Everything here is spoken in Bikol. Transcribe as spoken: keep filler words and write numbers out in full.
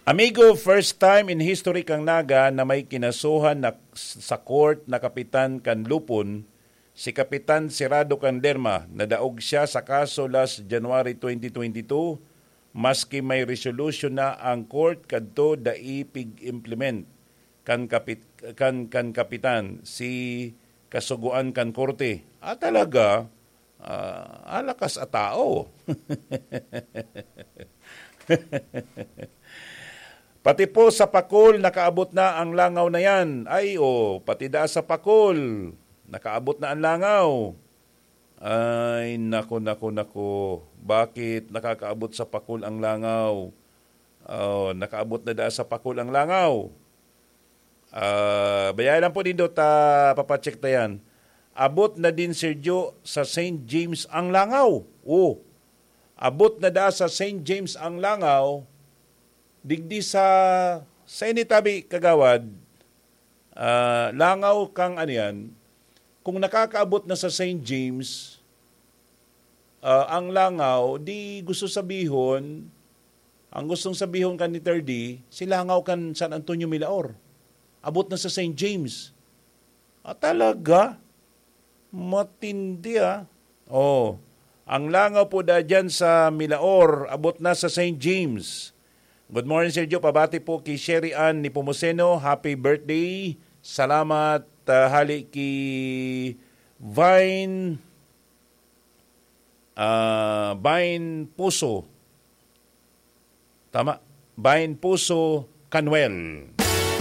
Amigo, first time in history kan Naga na may kinasuhan na sa court na kapitan kan Lupon, si Kapitan Sirado Canderma. Nadaog siya sa kaso last January twenty twenty-two, maski may resolution na ang court kadto, dai pig-implement kan kapit-, kan, kan kapitan si kasugoan kan korte. Ah, talaga? Ah, alakas a tao. Pati po sa Pacol, nakaabot na ang langaw na yan. Ay, oh, pati da sa Pacol, nakaabot na ang langaw. Ay, nako, nako, nako. Bakit nakakaabot sa Pacol ang langaw? Oh, nakaabot na da sa Pacol ang langaw. Ah, bayaan lang po nindo ta papacheck ta yan. Abot na din, Sergio, sa Saint James ang langaw. Oh, abot na da sa Saint James ang langaw. Digdi sa, sa ini tabi, kagawad, ah, langaw kang ano yan, kung nakakaabot na sa Saint James, ah, ang langaw, di gusto sabihon, ang gustong sabihon kan ni Third D, si langaw kan San Antonio Milaor. Abot na sa Saint James. Ah, talaga? Matindi, ah. Oh, ang langaw po da dyan sa Milaor, abot na sa Saint James. Good morning, Sergio. Pabati po ki Sherry Ann Nepomuceno. Happy birthday. Salamat, ah, hali ki Vine, ah, Vine Puso. Tama. Vine Puso Canwell.